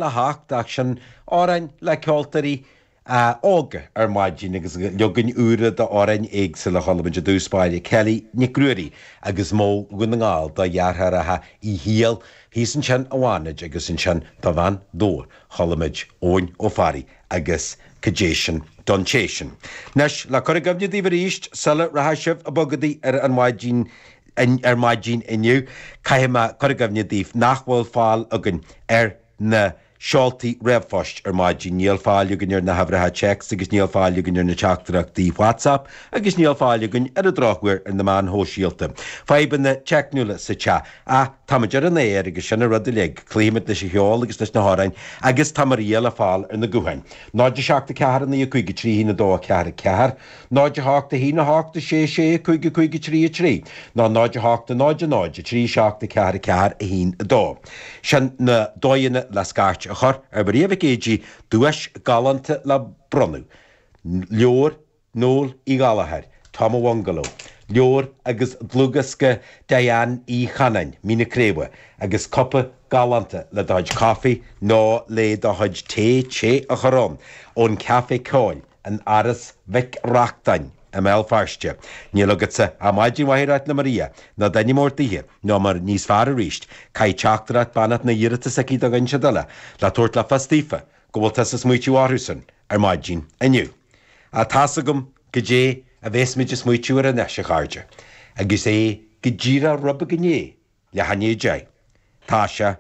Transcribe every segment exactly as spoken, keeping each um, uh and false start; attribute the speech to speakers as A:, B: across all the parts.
A: a hocht ach sin amhráin le ceoltóirí óga ar maidin agus leagain úra d'amhráin éagsúla. Chuala muid i dtús báire Kelly Nic Ruairí agus Mó Dhún na nGall dá dheartháireacha Uí Shiail thíos ansin i bhFánaid agus ansin do bhean Dobhair chuala muid Eoin Ó Fearraigh agus Cad é sin don té sin. Anois le cur i gcuimhne daoibh arís sula rachaidh sibh ag bogadaí ar an mhaidin ar maidin inniu, caithfidh mé cur i gcuimhne daoibh nach bhfuil fáil againn ar na seoltaí ríomhphoist ar maidin, níl fáil againn ar na huimhreacha téacs agus níl fáil againn ar na teachtaireachtaí WhatsApp agus níl fáil againn ar an drochuair ar na meáin shóisialta. Fadhbanna teicniúla sa teach. Ach táimid ar an aer agus sin an rud uilig, cloífimid leis an cheol agus leis na hamhráin agus tá Maria le fáil ar na gutháin. náid a seacht a ceathair a naoi a cúig a trí haon a dó a ceathair a ceathair, náid a hocht a haon a hocht a sé sé cúig a cúig a trí a trí, nó náid a hocht a náid a náid a trí seacht a ceathair a ceathair a haon a dó. Sin na dóigheanna le scairt a chur ar Mharia Mhic Éadaigh duais galánta le bronnadh. Leabhar Noel Uí Ghallchóir, Tom a Bhungaló, leabhar agus dlúthdhiosca Diane Uí Chanáin, Mín na Craoibhe, agus cupa galánta le do chuid caife nó le do chuid tae te a chur ann, ón Café Ceoil in Áras Mhic Reachtain i mBéal Feirste. Níl agatsa ach maidin mhaith a ráit le Maria, nó duine mór daoithe, nó mar níos fearr arís, caith teachtaireacht beannacht nó iarratas aici do dhuine eile, le tabhairt le fios daofa go bhfuil tusa ag smaoitiú orthusan ar maidin inniu. Ach tá's agam goidé a bheas muid ag smaoitiú air anois, a chairde, agus é go díreach roimh go ndéidh leath i ndiaidh a deich. Tá sé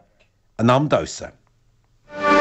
A: in am damhsa.